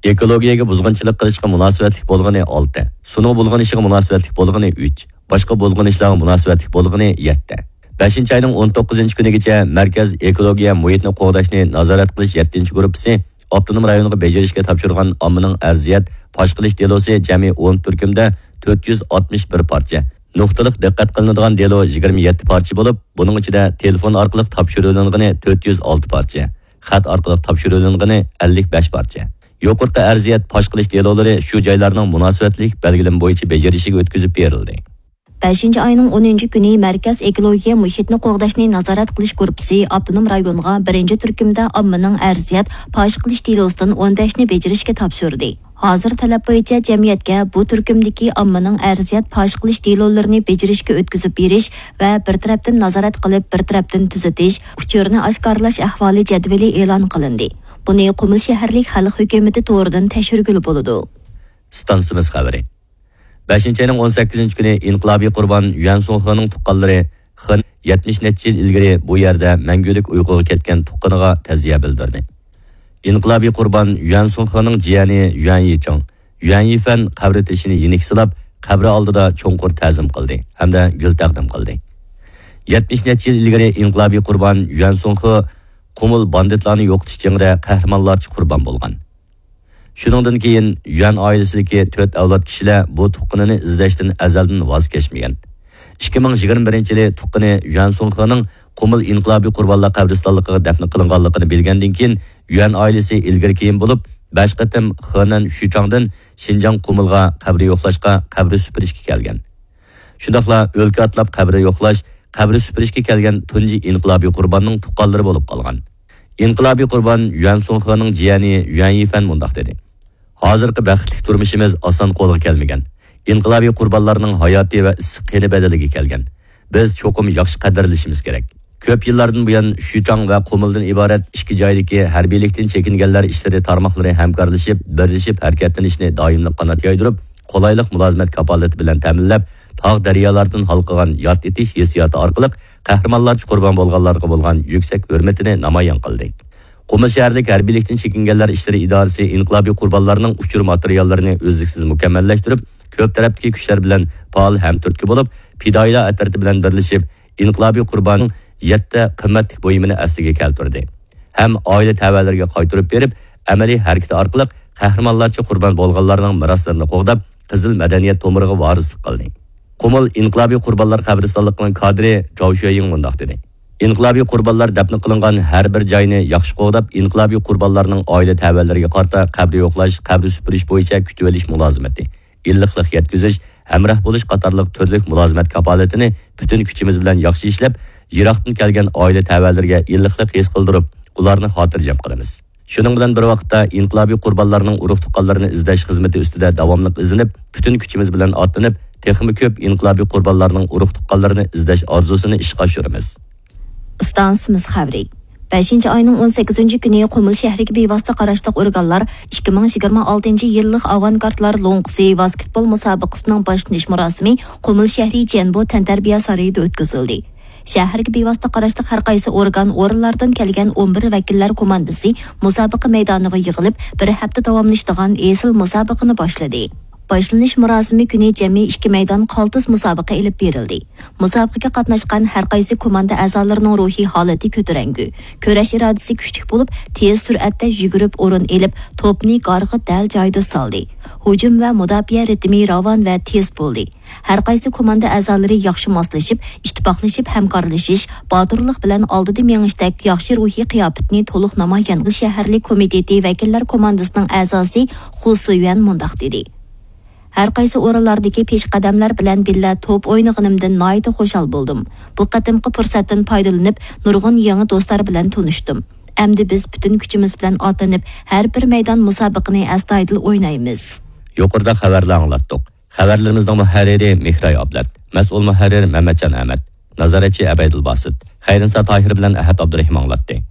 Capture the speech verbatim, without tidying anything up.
ئېكولوگىيەگە بۇزغۇنچىلىق قىلىشقا مۇناسىۋەتلىك بولغىنى ئالتە، سۇنىڭ بۇلغىنىشىغا مۇناسىۋەتلىك بولغىنى ئۈچ، باشقا بۇلغىنىشلارغا مۇناسىۋەتلىك بولغىنى يەتتە. بەشىنچى ئاينىڭ ئون توققۇزىنچى كۈنىگىچە مەركەز ئېكولوگىيە مۇھىتنى قوغداشنى نازارەت قىلىش يەتتىنچى گۇرۇپپىسى ئاپتونوم رايونغا بېجىرىشكە تاپشۇرغان ئاممىنىڭ ئەرزىيەت پاش قىلىش دېلوسى جەمئىي ئون تۈركۈمدە تۆت يۈز ئاتمىش بىر پارچە، نۇقتىلىق دىققەت قىلىنىدىغان دېلو يىگىرمە يەتتە پارچە بولۇپ، بۇنىڭ ئىچىدە تېلېفون ئارقىلىق تاپشۇرۇۋېلىنغىنى تۆت يۈز ئالتە پارچە، خەت ئارقىلىق تاپشۇرۇۋېلىنغىنى ئەللىك بەش پارچە. يۇقىرىقى ئەرزىيەت پاش قىلىش دېلولىرى شۇ جايلارنىڭ مۇناسىۋەتلىك بەلگىلىمە بويىچە بېجىرىشىگە ئۆتكۈزۈپ بېرىلدى. بەشىنچى ئاينىڭ ئونىنچى كۈنى مەركەز ئېكولوگىيە مۇھىتنى قوغداشنى نازارەت قىلىش گۇرۇپپىسى ئاپتونوم رايونغا بىرىنچى تۈركۈمدە ئاممىنىڭ ئەرزىيەت پاش قىلىش دېلوسىدىن ئون بەشنى بېجىرىشكە تاپشۇردى. ھازىر تەلەپ بويىچە جەمئىيەتكە بۇ تۈركۈمدىكى ئاممىنىڭ ئەرزىيەت پاش قىلىش دېلولىرىنى بېجىرىشكە ئۆتكۈزۈپ بېرىش ۋە بىر تەرەپتىن نازارەت قىلىپ، بىر تەرەپتىن تۈزىتىش، ئۇچۇرنى ئاشكارىلاش ئەھۋالى جەدۋىلى ئېلان قىلىندى. بۇنى قۇمۇل شەھەرلىك خەلق ھۆكۈمىتى تورىدىن تەكشۈرگىلى بولىدۇ. ئىستانسىمىز خەۋىرى. بەشىنچى ئاينىڭ ئون سەككىزىنچى كۈنى ئىنقىلابىي قۇربان يۈەن سۇڭخېنىڭ تۇغقانلىرى خېن يەتمىش نەچچە يىل ئىلگىرى بۇ يەردە مەڭگۈلۈك ئۇيقۇغا كەتكەن تۇغقىنىغا تەزىيە بىلدۈردى. ئىنقىلابىي قۇربان يۈەن سۇڭخېنىڭ جىيەنى يۈەن يىچىڭ، يۈەن يىفەن قەبرە تېشىنى يېنىك سىلاپ، قەبرە ئالدىدا چوڭقۇر تەزىم قىلدى ھەمدە گۈل تەقدىم قىلدى. يەتمىش نەچچە يىل ئىلگىرى ئىنقىلابىي قۇربان يۈەن سۇڭخې قۇمۇل باندىتلارنى يوقىتىش جېڭىدە قەھرىمانلارچە قۇربان بولغان. شۇنىڭدىن كېيىن يۈەن ئائىلىسىدىكى تۆت ئەۋلاد كىشىلەر بۇ تۇغقىنىنى ئىزدەشتىن ئەزەلدىن ۋاز كەچمىگەن. ئىككى مىڭ يىگىرمە بىرىنچى يىلى تۇغقىنى يۈەن سۇڭخېنىڭ قۇمۇل ئىنقىلابىي قۇربانلار قەبرىستانلىقىغا دەپنە قىلىنغانلىقىنى بىلگەندىن كېيىن، يۈەن ئائىلىسى ئىلگىرى كېيىن بولۇپ، بەش قېتىم خېنەن شۈچاڭدىن شىنجاڭ قۇمۇلغا قەبرە يوقلاشقا، قەبرە سۈپۈرۈشكە كەلگەن. شۇنداقلا ئۆلكە ئاتلاپ قەبرە يوقلاش، قەبرە سۈپۈرۈشكە كەلگەن تۇنجى ئىنقىلابىي قۇرباننىڭ تۇغقانلىرى بولۇپ قالغان. ئىنقىلابىي قۇربان يۈەن سۇڭخېنىڭ جىيەنى يۈەن يىفەن مۇنداق دېدى: ھازىرقى بەختلىك تۇرمۇشىمىز ئاسان قولغا كەلمىگەن. ئىنقىلابىي قۇربانلارنىڭ ھاياتى ۋە ئىسسىق قېنى بەدىلىگە كەلگەن. بىز چوقۇم ياخشى قەدىرلىشىمىز كېرەك. كۆپ يىللاردىن بۇيان شۈچاڭ ۋە قۇمۇلدىن ئىبارەت ئىككى جايدىكى ھەربىيلىكتىن چېكىنگەنلەر ئىشلىرى تارماقلىرى ھەمكارلىشىپ، بىرلىشىپ ھەرىكەتلىنىشنى دائىملىق قانات يايدۇرۇپ، قولايلىق مۇلازىمەت كاپالىتى بىلەن تەمىنلەپ، تاغ دەريالاردىن ھالقىغان ياد ئېتىش ھېسسىياتى ئارقىلىق قەھرىمانلارچە قۇربان بولغانلارغا بولغان يۈكسەك ھۆرمىتىنى نامايان قىلدى. قۇمۇل شەھەرلىك ھەربىيلىكتىن چېكىنگەنلەر ئىشلىرى ئىدارىسى ئىنقىلابىي قۇربانلارنىڭ ئۇچۇر ماتېرىياللىرىنى ئۈزلۈكسىز مۇكەممەللەشتۈرۈپ، كۆپ تەرەپتىكى كۈچلەر بىلەن پائال ھەمتۈرتكە بولۇپ، پىدائىيلار ئەترىتى بىلەن بىرلىشىپ، ئىنقىلابىي قۇرباننىڭ يەتتە قىممەتلىك بۇيۇمىنى ئەسلىگە كەلتۈردى ھەم ئائىلە تەۋەلىرىگە قايتۇرۇپ بېرىپ، ئەمەلىي ھەرىكىتى ئارقىلىق قەھرىمانلارچە قۇربان بولغانلارنىڭ مىراسلىرىنى قوغداپ، قىزىل مەدەنىيەت تومۇرىغا ۋارىسلىق قىلدى. قۇمۇل ئىنقىلابىي قۇربانلار قەبرىستانلىقىنىڭ كادىرى جاۋ شۈەيىڭ مۇنداق دېدى: ئىنقىلابىي قۇربانلار دەپنە قىلىنغان ھەر بىر جاينى ياخشى قوغداپ، ئىنقىلابىي قۇربانلارنىڭ ئائىلە تەۋەلىرىگە قارىتا قەبرە يوقلاش، قەبرە سۈپۈرۈش بويىچە كۈتۈۋېلىش مۇلازىمىتى، ئىللىقلىق يەتكۈزۈش، ھەمراھ بولۇش قاتارلىق تۈرلۈك مۇلازىمەت كاپالىتىنى پۈتۈن كۈچىمىز بىلەن ياخشى ئىشلەپ، يىراقتىن كەلگەن ئائىلە تەۋەلىرىگە ئىللىقلىق ھېس قىلدۇرۇپ، ئۇلارنى خاتىرجەم قىلىمىز. شۇنىڭ بىلەن بىر ۋاقىتتا، ئىنقىلابىي قۇربانلارنىڭ ئۇرۇق-تۇغقانلىرىنى ئىزدەش خىزمىتى ئۈستىدە داۋاملىق ئىزدىنىپ، پۈتۈن كۈچىمىز بىلەن ئاتلىنىپ، تېخىمۇ كۆپ ئىنقىلابىي قۇربانلارنىڭ ئۇرۇق-تۇغقانلىرىنى ئىزدەش ئارزۇسىنى ئىشقا ئاشۇرىمىز. ئىستانسىمىز خەۋىرى. بەشىنچى ئاينىڭ ئون سەككىزىنچى كۈنى قۇمۇل شەھىرىگە بىۋاسىتە قاراشلىق ئورگانلار ئىككى مىڭ يىگىرمە ئالتىنچى يىللىق ئاۋانگارتلار لوڭقىسى ۋاسكېتبول مۇسابىقىسىنىڭ باشلىنىش مۇراسىمى قۇمۇل شەھىرى جيەنبو تەنتەربىيە سارىيىدا ئۆتكۈزۈلدى. شەھەرگە بىۋاسىتە قاراشلىق ھەر قايسى ئورگان، ئورۇنلاردىن كەلگەن ئون بىر ۋەكىللەر كوماندىسى مۇسابىقە مەيدانىغا يىغىلىپ، بىر ھەپتە داۋاملىشىدىغان ئېسىل مۇسابىقىنى باشلىدى. باشلىنىش مۇراسىمى كۈنى جەمئىي ئىككى مەيدان قالتىس مۇسابىقە ئېلىپ بېرىلدى. مۇسابىقىگە قاتناشقان ھەر قايسى كوماندا ئەزالىرىنىڭ روھىي ھالىتى كۆتۈرەڭگۈ، كۈرەش ئىرادىسى كۈچلۈك بولۇپ، تېز سۈرئەتتە يۈگۈرۈپ ئورۇن ئېلىپ، توپنى گارغا دەل جايىدا سالدى. ھۇجۇم ۋە مۇداپىئە رىتىمى راۋان ۋە تېز بولدى. ھەر قايسى كوماندا ئەزالىرى ياخشى ماسلىشىپ، ئىتتىپاقلىشىپ ھەمكارلىشىش، باتۇرلۇق بىلەن ئالدىدا مېڭىشتەك ياخشى روھىي قىياپىتىنى تولۇق نامايان قىلدى. شەھەرلىك كومىتېتى ۋەكىللەر كوماندىسىنىڭ ئەزاسى خۇ سىيۈەن مۇنداق دېدى: ھەر قايسى ئورۇنلاردىكى پېشقەدەملەر بىلەن بىللە توپ ئوينىغىنىمدىن ناھايىتى خۇشال بولدۇم. بۇ قېتىمقى پۇرسەتتىن پايدىلىنىپ، نۇرغۇن يېڭى دوستلار بىلەن تونۇشتۇم. ئەمدى بىز پۈتۈن كۈچىمىز بىلەن ئاتلىنىپ، ھەر بىر مەيدان مۇسابىقىنى ئەستايىدىل ئوينايمىز. يۇقىرىدا خەۋەرلەر ئاڭلاتتۇق. خەۋەرلىرىمىزنىڭ مۇھەررىرى مېھراي ئابلەت، مەسئۇل مۇھەررىر مەمەتجان ئەمەت، نازارەتچى ئەبەيدۇل باسىت، خەيرىنسا تاھىر بىلەن ئەھەت ئابدۇرېھىم ئاڭلاتتى.